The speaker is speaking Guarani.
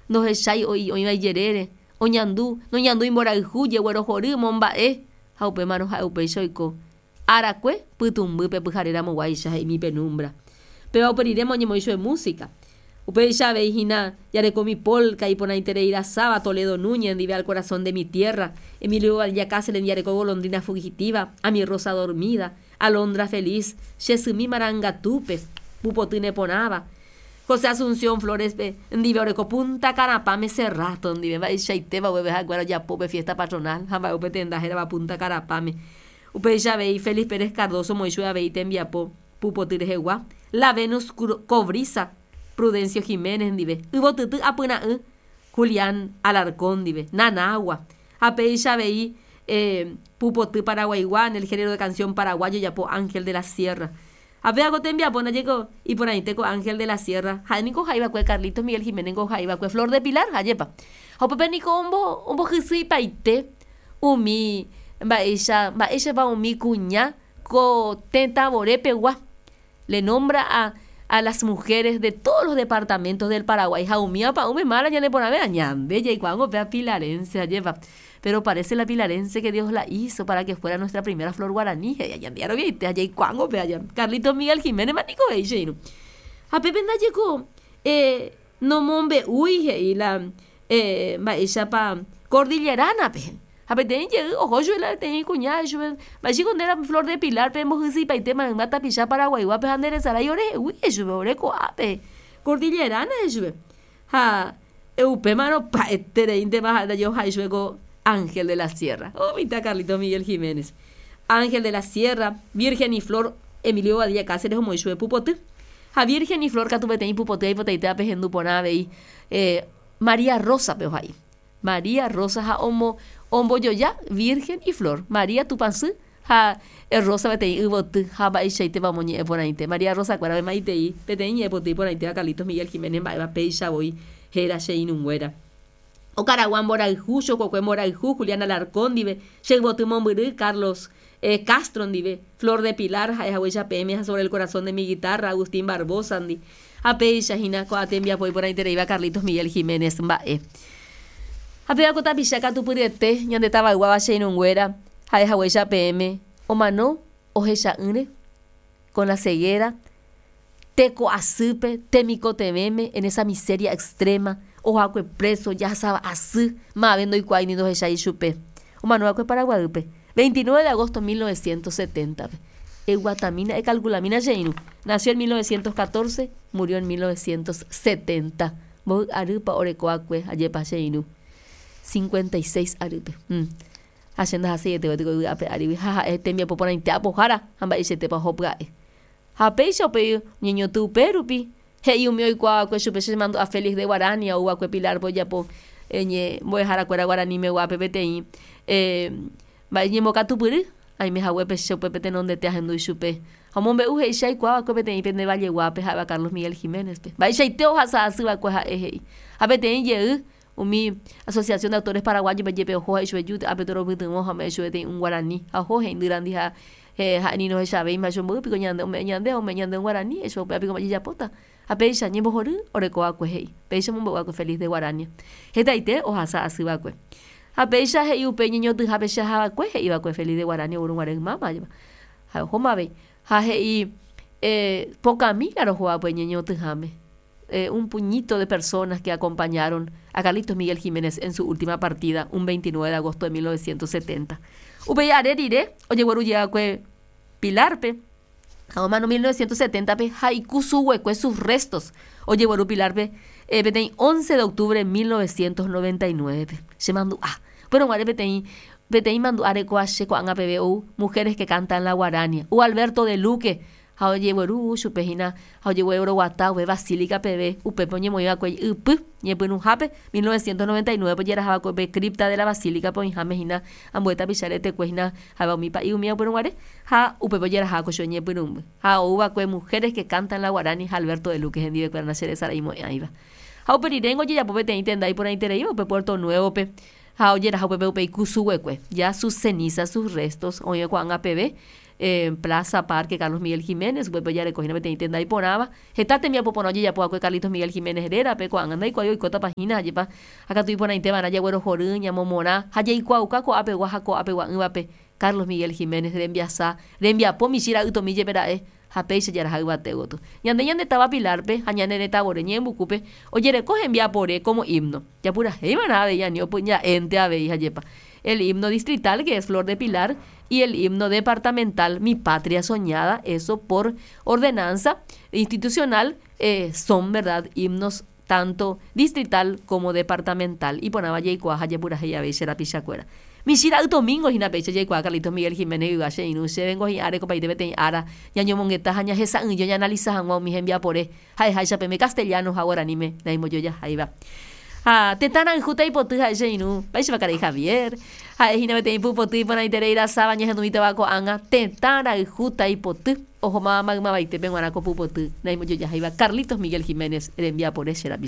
Ndohechái oĩva ijerére, oñandu, noñandúi mborayhu, jeguerohory, momba'e, ha upémarõ ha'e upéicha oiko. Arakue, pytũmbýpe pyhare ramoguáicha, he'ími penumbra. Péva upe riréma oñemoĩ chupe música. Upéicha avei hína jarekomi polka iporãiterei rasáva Toledo Núñez ndive Al corazón de mi tierra, Emilio Bobadilla Cáceres ndive jareko Golondrina fugitiva, A mi rosa dormida, Alondra feliz, Che symi marangatúpe, Pupoty neporãva, José Asunción Flores-pe ndive oreko Punta Karapãme Serrato ndive, mba'eichaitépa upépe ha'ekuéra ojapo upe fiesta patronal ha mba'e upe tenda hérava Punta Karapãme. Upéicha avei Félix Pérez Cardozo omoĩ chupe avei tembiapo pupoty rehegua, La Venus Cobriza, Prudencio Giménez ndive, Yvotyty Apyra'ỹ, Julián Alarcón ndive, Nanagua, ha péicha avei pupoty paraguaigua en el género de canción paraguayo ojapo Ángel de la Sierra. Ha péva ko tembiapo ndajeko iporãite ko Ángel de la Sierra, ha'e niko ohai va'ekue Carlitos Miguel Giménez niko ohai va'ekue Flor de Pilar, ajépa. Ha upépe niko ombohysyipaite umi mba'éicha mba'éichapa umi kuña ko tetã vore pegua. Le nombra a a las mujeres de todos los departamentos del Paraguay ha umíva pa'ũme mála ñane porãvéva ñande jaikuaángo péva pilarense, ajépa. Pero parece la pilarense que Dios la hizo para que fuera nuestra primera flor guaraní, he'i ñande jaroviaite ha jaikuaángo péva ja. Carlitos Miguel Giménez ma niko he'i che irũ. Ha pépe ndajeko eh nomombe'úi he'i la eh mba'éichapa cordillerana-pe. Ha peteĩ jey oho chupe la peteĩ kuña he'i chupe, mba'éichiko nde la flor de pilar-pe embohysyipaite mayma tapicha paraguaiguápe ha nderesarái orehegui he'i chupe ore ko'ápe cordillerana he'i chupe. Ha upémarõ pya'etereíntema ha'e ndaje ohai chupe ko Ángel de la Sierra. Oh mitã Carlitos Miguel Giménez. Ángel de la Sierra, Virgen y Flor, Emilio Bobadilla Cáceres omoĩ chupe pupoty. Ha Virgen y Flor katu peteĩ pupoty aipotaite apehendu porã avei María Rosa-pe ohai. María Rosa ha omo ombojoja Virgen y Flor. María Tupãsy ha Rosa peteĩ yvoty ha mba'eichaitépa omoñe'ẽ porãite. María Rosa kuéra oĩmaitei peteĩ ñe'ẽpoty iporãitéva Carlitos Miguel Giménez mba'éva péicha voi héra che irũnguéra. Okaragua mborayhu, chokokue mborayhu Julián Alarcón ndive, che yvoty mombyry Carlos Castro ndive, Flor de Pilar ha'e haguéicha peẽme ha Sobre el corazón de mi guitarra Agustín Barboza ndi. Ha péicha hína ko'ã tembiapo iporãitereíva Carlitos Miguel Giménez mba'e. Ha péva ko tapicha katupyryete ñande tavayguáva che irũnguéra ha'e haguéicha peẽme omano ohecha'ỹre, con la ceguera, teko asýpe, temikotevẽme, en esa miseria extrema, ohoakue preso, jahasava asy, mave ndoikuaái ni ndohechái ichupe. Omano va'ekue Paraguaýpe, 29 de agosto 1970-pe. Eguatamína, ekalkulamína che irũ. Nació en 1914, murió en 1970. Mboy arýpa oreko va'ekue, ajépa che irũ? 56 arýpe. Ha che ndahaseiete gueteri ko yvy ape árigui ha ha'e tembiapo porãite apohára ha mba'eichaitépa oho pya'e. Ha péicha upéi oñeñotỹ upérupi, he'i umi oikuaa va'ekue chupe che mandu'a Félix de Guarania ou va'ekue Pilar-pe ojapo mbo'eharakuéra guaranimeguápe peteĩ mba'e ñembokatupyry, aime haguépe che upépe tenondete ahendu ichupe. Ha omombe'u he'i che aikuaa va'ekue peteĩ pende valleguápe ha'éva Carlos Miguel Giménez-pe. Mba'eichaite ohasa asy va'ekue ha'e he'i. Ha peteĩ jey umi Asociación de Autores Paraguayos-pe jepe oho he'i chupe ju ápe toropytyvõ ha ome'ẽ chupe peteĩ un guarani. Ha oho he'indýrandi ha ha'e ni ndohechavéima chupe mboy piko ñande ome'ẽ ñande ha ome'ẽ ñande un guarani he'i chupe upéva piko mba'e jajapóta. Ha péicha ñembohory oreko va'ekue he'i. Péicha omombe'u va'ekue Félix de Guarania. Hetaite ohasa asy va'ekue. Ha péicha he'i upe ñeñotỹhápe che aha va'ekue he'i va'ekue Félix de Guarania ogueru guare ymáma ajépa. Ha ohóma avei. Ha he'i pokãmi la roho va'ekue ñeñotỹháme. Un puñito de personas que acompañaron a Carlitos Miguel Giménez en su última partida un 29 de agosto de 1970. Upéi are rire ojegueru jey va'ekue Pilar-pe ha omano 1970-pe ha ikusuguekue sus restos ojegueru Pilar-pe peteĩ 11 de octubre 1999-pe. Che mandu'a. Upérõ guare peteĩ peteĩ mandu'a rekóva che ko'ág̃a peve ou Mujeres que cantan la guarania. Ou Alberto de Luque Ha ojegueru chupe hína ha ojegueroguata upe basílica peve, upépe oñemoĩ va'ekue ypy ñepyrũhápe, 1999-pe ojeraha va'ekue upe cripta de la basílica-pe oĩháme hína ambue tapicha retekue hína ha'éva umi pa'i umíva upérõ guare, ha upépe ojeraha va'ekue chupe ñepyrũmby. Ha ou va'ekue Mujeres que cantan la guarani ha Alberto de Luque hendivekuéra nacheresaraimo'ãiva. Ha upe riréngo ojejapo peteĩ tenda iporãitereíva upe Puerto Nuevo-pe ha ojeraha upépe upe ikusuguekue, ya sus cenizas, sus restos, oĩva ko'ág̃a peve. Plaza Parque Carlos Miguel Giménez, upépe ojareko hína peteĩ tenda iporãva. Heta tembiapo porã ojejapo va'ekue Carlitos Miguel Giménez rérape, ko'ág̃a ndaikuaái oikótapa hína, ajépa ha katu iporãite va'erã jaguerohory, ñamomorã ha jaikuaauka ko'ápegua ha ko'apegua'ỹvape Carlos Miguel Giménez rembiasa, rembiapo michĩ ra'ytomi jepe ra'e ha péicha jaraha yvate gotyo. Ñande ñande táva Pilar-pe ha ñane retãvore Ñe'ẽmbukúpe ojereko hembiapore como himno. Japurahéi va'erã avei ani opyja'énte avei ha jepa. El himno distrital que es Flor de Pilar y el himno departamental Mi Patria Soñada, eso por ordenanza institucional son verdad himnos tanto distrital como departamental. Iporãva jaikuaa ha japurahéi avei che rapichakuéra. Michĩ ra'y Domingo hína péicha jaikuaa Carlitos Miguel Giménez yva che irũ chévengo hi'áre kopaite peteĩ ára ñañomongeta ha ñahesa'ỹijo ñaanalisa hag̃ua umi hembiapore ha'eháicha peme castellano ha guaraníme naimbojojaháiva. Ha tetã rayhúta ipoty ha'e che irũ, mba'éichapa karai Javier? Ha'e hína peteĩ pupoty iporãiterei rasáva ñahendumítava ko'ág̃a tetã rayhúta ipoty ohómava maymavaitépe g̃uarã ko pupoty naimbojojaháiva Carlitos Miguel Giménez rembiapore che rapicha.